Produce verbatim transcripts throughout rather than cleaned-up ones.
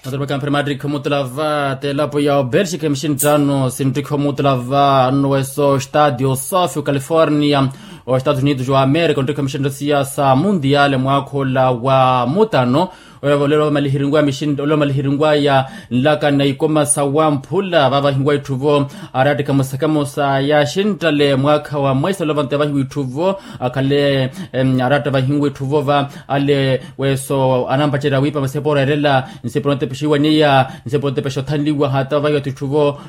Matarapaka mpira mattikha omutula va t'elapo ya obelxika mixinttano sinttikha omutula va nno weso estadio sofi ocalifornia, oestados unidos wa america onttikha mixinttano siya sa mundial mwaakha ola wa mutano. Olelo malihirinwaya nlakana ikoma sa wamphula vavahinwa itthu vo, arattikha musakamo sa yaxinttale mwaakha wa mweisa olelo vantu yavahiwa itthu vo, akhale aratta vahinwa itthu vo va ale weso anampacerya wiipa masepo oreerela nsepo notepexiwa niya nsepo notepexa othanliwa hata vahiwa titthu vo.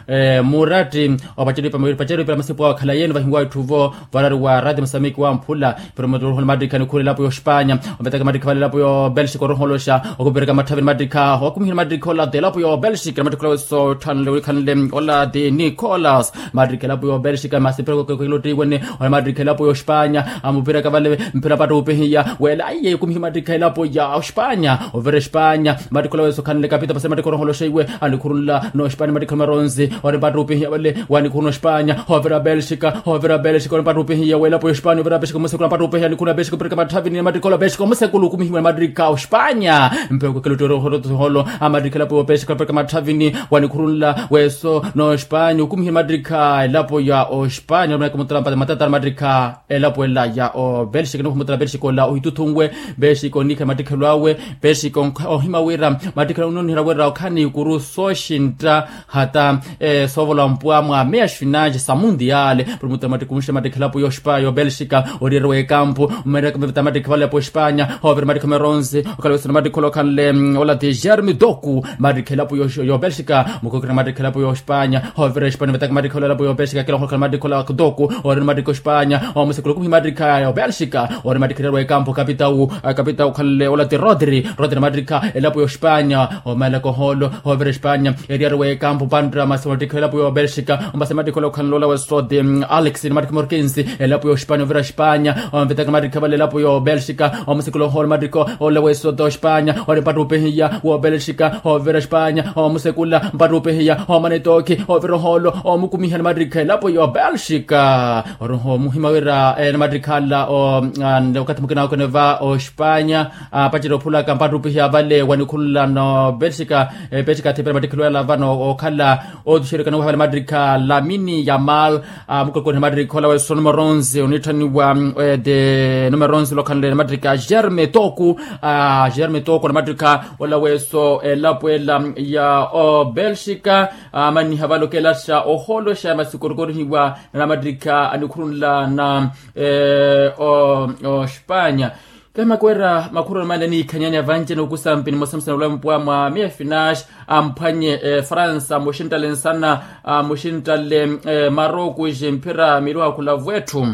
Muratti opacerya wiipa masepo awo akhalaye ni vahinwa itthu vo. Varari wa rati musamiki wamphula pero mutthu ohola mattikha nikhuula elapo ya ospanya. Ovetaka mattikha vale elapo ya obelxika oroholoxa okupereka matthavi ni mattikha okumiha ni mattikha ola ti elapo ya obelxika ni mattikha ola weso otthanle wikhanle ola ti nicolas. Mattikha elapo ya obelxika masi pero kekelo ttiwene. Ola mattikha elapo ya ospanya amupiraka vale mpira mpatta upihiya wela aiye okumiha mattikha elapo ya ospanya ovira espanya. Mattikha ola weso khanle kapita pase mattikha oroholoxa iwe anikhurunla nospanya mattikha omaronzi. Ori mpatta upihiya vale wanikhuruna ospanya ovira belxika ovira belxika ori mpatta upihiya welapo ya ospanya ovira belxika omusekula mpatta upihiya anikhuruna belxika opirika matthavini mattikha ola belxika omusekula okumihiwa ni mattikha ospanya. Mpeko kelo ttiwene oholo amattikha elapo ya obelxika opirika matthavini wanikhurunla weso nospanya okumihiwa ni mattikha elapo ya ospanya omanaka mutala mpata matata ni mattikha elapo ela ya obelxika nikhumutala belxika ola ohituthunwe. Belxika oniikha mattikhelo awe belxika ohima wira mattikhelo awe ononihela wira okhala ni ikuru sooxintta hata soovola mpwa mwa meya xfinanxe sa mundial. Pero mutala mattikha onxita mattikhelo apo ya ospanya ya obelxika oriyeriwa ekampu mmeraka mvita mattikha vale apo ospanya. Ovira mattikha omeronsi okhala wesana mattikhelo okhanle ola ti germe toku mattikha elapo ya obelxika mukokera mattikha elapo ya ospanya. Ovira espanya vetaka mattikha ola elapo ya obelxika kela okhokhala mattikha ola toku. Ori ni mattikha ospanya omusekula okumiha mattikha ya obelxika ori mattikha eriyeriwa ekampu kapitau kapitau okhanle ola ti rodri rodri mattikha elapo ya ospanya. Omalaka oholo ovira espanya eriyeriwa ekampu pantta masi mattikha elapo ya obelxika ombasa mattikha ola okhanle ola weso ti alex ni mattikha morkensi elapo ya ospanya ovira espanya. Omvetaka mattikha vale elapo ya obelxika omusekula oholo mattikha ola weso ti ospanya ori mpatta upihiya wa obelxika ovira espanya omusekula mpatta upihiya omana etookhi ovira oholo omukumiha ni mattikha elapo ya obelxika. Oroho omuhima wira ni mattikha ala okathi mukina okene va ospanya apacerya ophulaka mpatta upihiya vale wanikhurunla nobelxika. Belxika athipela mattikhelo ala vano okhala otuxerikana wahivala mattikha lamini yamal. Mukokoriha mattikha ola weso numero onze onitthaniwa ti numero onze olokhanle ni mattikha germe toku. Germe toku ni mattikha ola weso elapo ela ya obelxika amanniha vale okelaxa oholoxa masi okorokorihiwa na mattikha anikhurunla na ospanya. Kemaka wira makhuroni male aniikhanyani avanci anokusampi nimosamusana olwa mpwa mwa miya finax amphwanye efransa muxinttale nsana muxinttale marocos mphira miiru akhulavu etthu.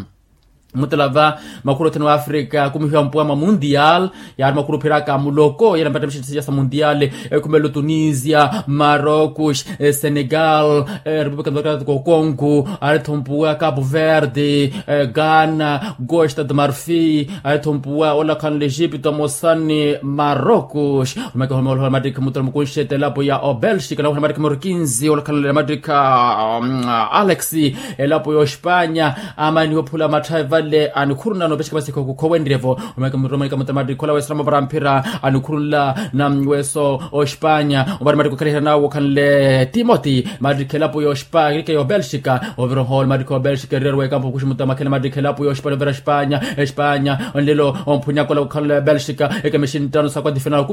Mutala va makhuru othene wa afrika akumihiwa mpuwa mwa mundial. Yaari makhuru ophiraka muloko yena mpattamixi siya sa mundial. Ekhumelo tunisia marocos senegal repupulika democratika ocongo. Aritho mpuwa capo verde ghana costa de marfi. Aritho mpuwa olakhanle egipto mosani marocos. Omeke homoolohola mattikha mutala mukunxi etelapo ya obelxika nawuhela mattikha moro kinzi olakhanle mattikha alex elapo ya ospanya. Amaniha ophula matthavi vale anikhuruna noopexeka masikha okukhowenryevo. Omeke muromanika mutala mattikha ola wesarama para mphira anikhurunla na weso ospanya. Omari mattikha okhalihela nawo okhanle timoti mattikha elapo ya ospanya ya obelxika ovira oholo mattikha obelxika eriyariwa ekampo okuxi mutala makhela mattikha elapo ya ospanya ovira espanya espanya. Onlelo omphunyaka ola okhanle belxika ekemexi nttano sa quadrifinal.